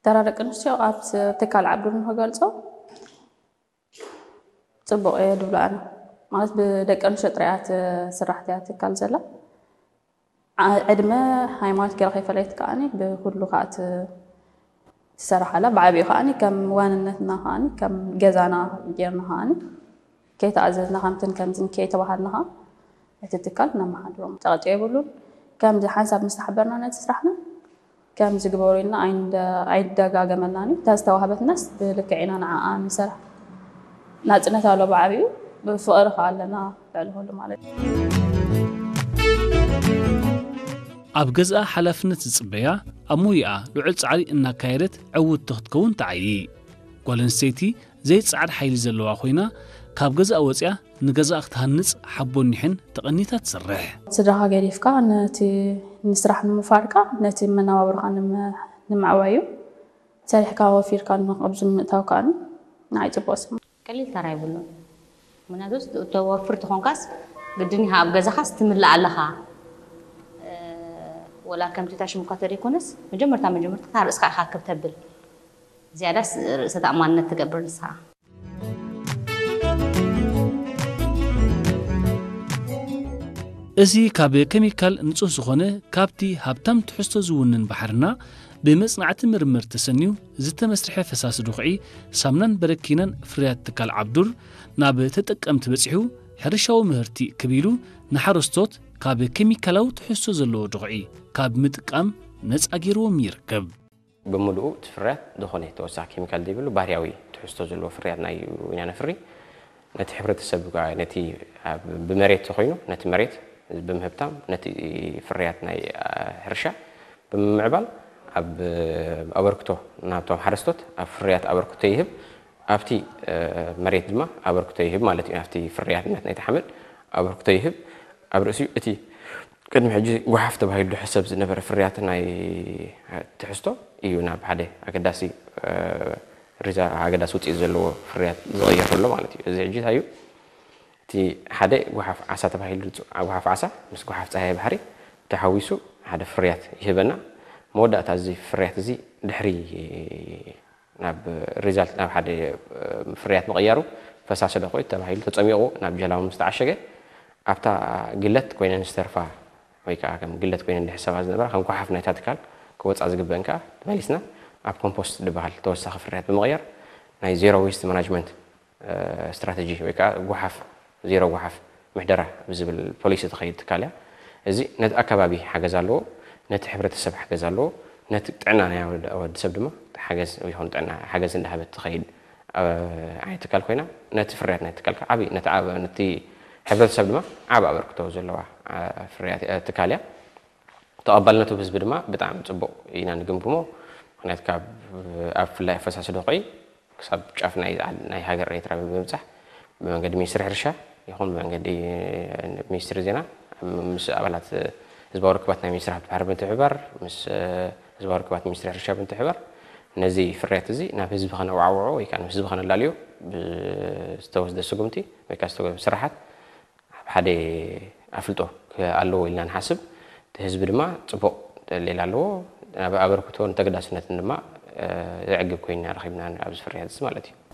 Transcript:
ተራ ደቂ ኣንስትዮ ኣብ ትካል ዓብዱር ንክገልጾ ጽቡቕ እየ ድብሎ ኣነ። ማለት ብደቂ ኣንስትዮ ጥራይ እያ ትስራሕ እያ ትካል ዘላ። ዓ-፣ ዕድመ፣ ሃይማኖት ገይራ ከይፈለየት ከኣኒ ብኩሉ ከኣ ት-፣ ትሰርሓላ። ብዓቢኡ ከኣኒ ከም ዋንነትና ከኣኒ ከም ገዛና ጌርና ከኣኒ ከይተኣዘዝና ከምትን ከምትን ከይተባሃልና ከኣ እቲ ትካል ነመሓድሮ። ጨቕጨ የብሉን። ከምዚ ሓንሳብ ምስ ተሓበርና ነቲ ስራሕና ከምዚ ግበሩ ኢልና ኣይንደ-፣ ኣይደጋገመልናን እዩ። እታ ዝተዋህበትናስ ብልክዕ ኢና ንዓኣ ንሰርሕ። ናጽነት ኣሎ ብዓቢኡ፣ ብፍቕሪ ከኣ ኣለና ልዕሊ ኩሉ ማለት እዩ። ኣብ ገዝኣ ሓላፍነት ዝጽበያ፣ ኣብ ሞያኣ ልዑል ጻዕሪ እናካየደት ዕውትቲ ክትከውን ትዓዪ። ጓል ኣንስተይቲ ዘይጸዓድ ሓይሊ ዘለዋ ኮይና፣ ካብ ገዛእ ወጺኣ ንገዛእ ክትሃንጽ ሓቦን ኒሕን ተቐኒታ ትሰርሕ። ስድራኻ ገዲፍካ ነቲ ንስራሕ ንምፋርካ፣ ነቲ መነባብሮኻ ንመ-፣ ንምዕባይ እዩ። ሰሪሕካ ወፊርካ ኣብዚ ምእታው ከኣ ንዓይ ጽቡቕ ስምዒት። ቀሊል ተራ የብሉን። ምክንያቱ ተወፍር ተኾንካስ ግድን ኢኻ ኣብ ገዛኻስ ትምልእ ኣለኻ። እ፣ ወላ ከምቲ ታሽሙካ ተደይኮነስ መጀመርታ መጀመርታ ርእስኻ ኢኻ ክብ ተብል። ዝያዳስ ርእሰ ተኣማንነት ትገብር ንስኻ። እዚ ካብ ኬሚካል ንጹህ ዝኾነ ካብቲ ሃብታም ትሕዝቶ ዝውንን ባሕርና ብመጽናዕቲ ምርምር ተሰንዩ ዝተመስርሐ ፈሳሲ ድኹዒ ሳምናን በረኪናን ፍርያት ትካል ዓብዱር ናብ ተጠቀምቲ በጺሑ ሕርሻዊ ምህርቲ ክብ ኢሉ ንሓረስቶት ካብ ኬሚካላዊ ትሕዝቶ ዘለዎ ድኹዒ ካብ ምጥቃም ነጻ ገይርዎም ይርከብ። ብምሉኡ እቲ ፍርያት ዝኾነ ተወሳኺ ኬሚካል ዘይብሉ ባህርያዊ ትሕዝቶ ዘለዎ ፍርያትና እዩ ኢና ነፍሪ። ነቲ ሕብረተሰብ ከኣ ነቲ ኣብ፣ ብመሬት ተኾይኑ ነቲ መሬት ብምህብታም ነቲ ፍርያት ናይ፣ አ፣ ሕርሻ ብምምዕባል ኣብ ኣበርክቶ ናብቶም ሓረስቶት ኣብ ፍርያት ኣበርክቶ ይህብ። ኣብቲ፣ እ፣ መሬት ድማ ኣበርክቶ ይህብ ማለት እዩ። ኣብቲ ፍርያትነት ናይቲ ሓመድ ኣበርክቶ ይህብ። ኣብ ርእሲኡ እቲ ቅድሚ ሕጂ ጓሓፍ ተባሂሉ ዝሕሰብ ዝነበረ ፍርያት ናይ ትሕዝቶ እዩ ናብ ሓደ ኣገዳሲ፣ እ፣ ሪዛ-፣ ኣገዳሲ ውፅኢት ዘለዎ ፍርያት ዝቕየር ዘሎ ማለት እዩ። እዚ ሕጂ እንታይ እዩ? እቲ ሓደ ጓሓፍ ዓሳ ተባሂሉ ዝፅዋዕ፣ ጓሓፍ ዓሳ ምስ ጓሓፍ ፃህያይ ባሕሪ ተሓዊሱ ሓደ ፍርያት ይህበና። መወዳእታ እዚ ፍርያት እዚ ድሕሪ ናብ ሪዛልት፣ ናብ ሓደ፣ እ፣ ፍርያት ምቕያሩ ፈሳሲ ዶ ኮይኑ ተባሂሉ ተጸሚቑ ናብ ጀላቡ ምስ ተዓሸገ፣ ኣብታ ግለት ኮይነን ዝተርፋ ወይ ከኣ ከም ግለት ኮይነን ዝሕሰባ ዝነበራ ከም ጓሓፍ ናይታ ትካል ክወጻ ዝግበአን ከኣ መሊስና ኣብ ኮምፖስት ዝበሃል ተወሳኺ ፍርያት ብምቕያር ናይ ዜሮ ዌስት ማናጅመንት፣ እ፣ ስትራተጂ ወይ ከኣ ጓሓፍ፣ ዜሮ ጓሓፍ ምሕደራ ብዝብል ፖሊሲ ትኸይድ ትካል እያ። እዚ ነቲ ኣከባቢ ሓገዝ ኣለዎ፣ ነቲ ሕብረተሰብ ሓገዝ ኣለዎ፣ ነቲ ጥዕና ናይ ወድ-፣ ወዲ ሰብ ድማ ሓገዝ ይኹን ጥዕና ሓገዝ እንዳሃበት ትኸይድ፣ እ፣ ዓይነት ትካል ኮይና፣ ነቲ ፍርያት ናይ ትካል ከኣ ዓቢ፣ ነቲ ዓብ-፣ ነቲ ሕብረተሰብ ድማ ዓቢ ኣበርክቶ ዘለዋ፣ እ፣ ፍርያት፣ እ፣ ትካል እያ። ተቐባልነቱ ብህዝቢ ድማ ብጣዕሚ ጽቡቕ ኢና ንግምግሞ። ምኽንያቱ ካብ፣ ኣብ ብፍላይ ፈሳሲ ድኹዒ ክሳብ ጫፍ ናይ፣ ናይ ሃገር ኤርትራ ብምብጻሕ ብመንገዲ ሚኒስትሪ ሕርሻ ይኹን ብመንገዲ ሚኒስትሪ ዜና ምስ ኣባላት ህዝባዊ ርክባት ናይ ሚኒስትሪ ሃብቲ ባሕሪ ብምትሕብባር ምስ ህዝባዊ ርክባት ሚኒስትሪ ሕርሻ ብምትሕብባር ነዚ ፍርያት እዚ ናብ ህዝቢ ከነወዓውዖ ወይ ከዓ ናብ ህዝቢ ከነላልዮ ብዝተወስደ ስጉምቲ ወይ ከዓ ዝተወ-፣ ስራሓት ኣብ ሓደ ኣፍልጦ ክኣለዎ ኢልና ንሓስብ። እቲ ህዝቢ ድማ ጽቡቕ ደሊል ኣለዎ። ኣብ ኣበርክቶን ተገዳስነትን ድማ፣ እ፣ ዘዕግብ ኮይና ረኺብና ኣብዚ ፍርያት እዚ ማለት እዩ።